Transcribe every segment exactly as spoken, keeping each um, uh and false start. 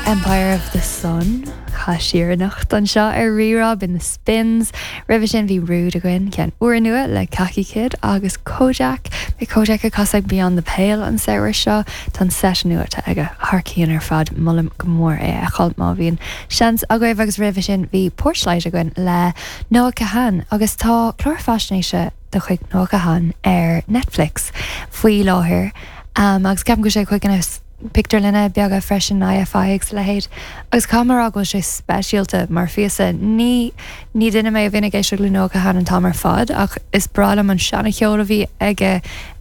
Empire of the Sun Chaith siar anocht anseo ar Rí-Rá b'in The Spins. Roimhe sin bhí Rude againn ceann úrnua le Kaki Kid agus Kojaque. Beidh Kojaque ag casadh Beyond the Pale an samhradh seo tá an set nua aige thar cionn ar fad molaim go mór é a fheiceáil má bhíonn seans agaibh agus roimhe sin bhí Porchlight againn le Noah Kahan agus tá clár faisnéise de chuid Noah Kahan ar Netflix faoi láthair um, agus ceapaim go sé chuig na pictiúrlanna beaga freisin IFI agus leithéid agus caithfidh mé go sé speisialta mar phíosa ní ní duine mé a bhíonn ag éisteacht le Noah Kahan an t-am ar fad ach is breá liom an seancheol a bhí aige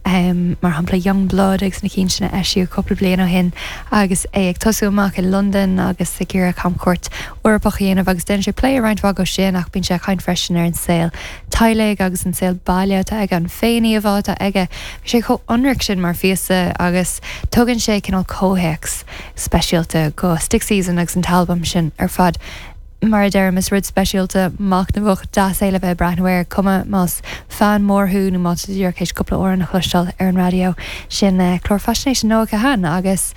um, mar shampla Young Blood agus na cinn sin a eisíodh cúpla bliain ó shin agus é ag tosú amach i London agus ag iarraidh camchuairt Eorpach a dhéanamh agus déanann sé plé roinnt mhaith de sin ach bíonn sé caint freisin ar an saol teaghlaigh agus an saol baile atá aige an féiníomhá atá aige Bhí sé chomh hionraic sin mar phíosa agus tugann sé cineál comhthéacs speisialta go Stick Season agus an t-albam sin ar fad. Mar a deirim is rud speisialta machnamhach deas é le bheith breathnú air cuma más fan mór thú nó má díreach cúpla amhrán a chloisteáil ar an raidió sin uh, clár faisnéise Noah Kahan agus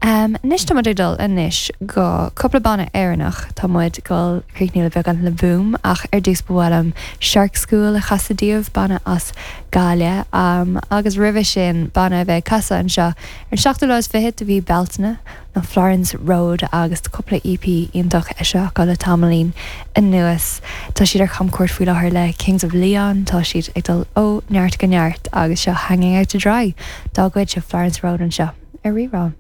Um, Anois tá ag dul anois go cúpla banna Éireannach tá muid ag críochnú le beagán le Boom ach ar dtús ba mhaith liom Shark School a chasadh daoibh banna as Gaillimh um, agus roimhe sin banna a bheidh ag casadh anseo ar seachtú lá is fiche de mhí Bealtaine ná Florence Road agus cúpla EP iontach eisithe acu le tamaillín anuas. Tá siad ar camchuairt faoi láthair le Kings of Leon, tá siad ag dul ó neart go neart agus seo hanging out to dry dá gcuid seo Florence Road anseo ar Rí-Rá.